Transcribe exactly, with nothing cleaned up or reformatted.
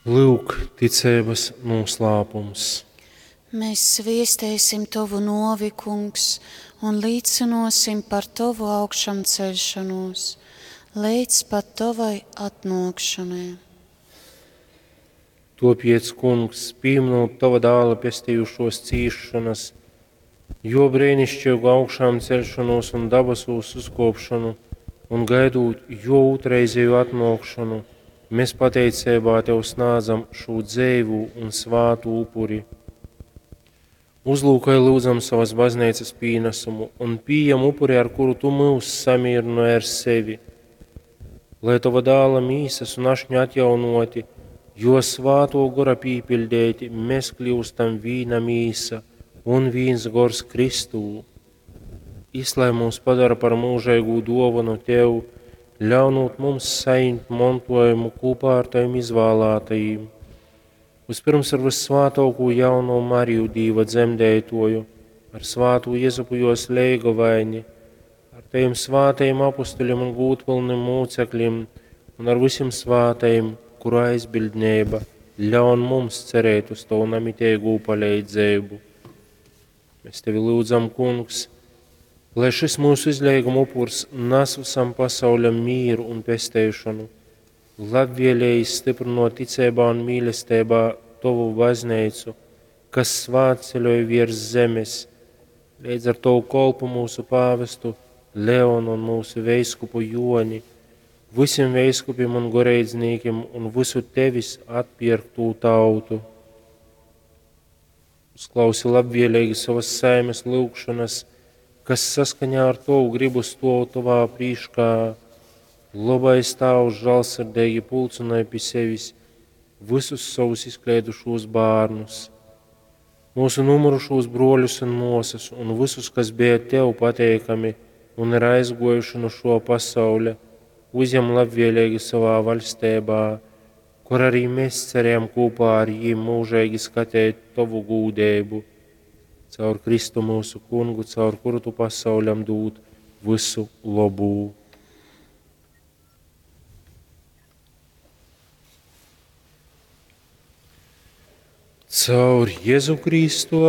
Lyuk, ticeibas nūslāpums. Mēs sviesteisim Tovu nōvi, Kungs, un līcynōsim par Tovu augšamceļšonūs, leidz pat Tovai atnōkšonai. Tōpēc, Kungs, pīminūt Tova dāla pestejušōs cīsšonas, jō breinišķeigu augšāmceļšonūs un dabasūs uzkōpšonu un gaidūt jō ūtrreizeju atnōkšonu, mēs pateiceibā Tev snādzam šū dzeivū un svātū upuri. Uzlūkoj, lyudzam, sovas bazneicas pīnasumu un pījem upuri, ar kuru Tu myus samīrynoj ar sevi. Lai Tova dāla mīsas un ašņa atjaunoti, jo svātō gora pīpiļdeiti, mēs kļūstam vīna mīsa un vīns gors Kristū. Jis lai mūs padara par mūžīgu dōvanu Tev, ļaunūt mums sajimt montojumu kopā ar Tavim izvēlētajiem. Vispirms ar vissvātāko jauno Mariju Dīva dzemdētoju, ar svātū Jezupu jos leigovaini, ar Tavim svātajiem apustuļiem un gūdpilnim mūcekļiem un ar visiem svātajiem, kuru aizbildnība ļaun mums cerēt uz Tavu namitīgo palīdzību. Mēs Tevi lūdzam, Kungs, lai šis mūsu izleiguma upurs nes visam pasauļam mīru un pesteišanu, labvēlīgi stiprinot ticībā un mīlestībā Tovu baznīcu, kas svētceļoja virs zemes, līdz ar Tavu kolpu mūsu pāvestu Leonu un mūsu veiskupu Joni, visiem veiskupiem un goreidznīkiem un visu Tevis atpirktū tautu. Uzklausi labvēlīgi savas saimes lūgšanas, kas saskaņā ar Tavu gribu stov Tavā prīškā. Labais Tēvs žēlsirdīgi pulcināja pie sevis visus savus izkleidušos bērnus, mūsu numurušos broļus un māsas un visus, kas bija Tev pateikami un ir aizgojuši no šo pasaules, uzņem labvēlīgi savā valstībā, kur arī mēs cerējam kopā ar viņiem mūžīgi skatīt Tavu gūdību. Caur Kristu mūsu kungu, caur kuru Tu pasauļam dod visu labu. Caur Jēzu Kristu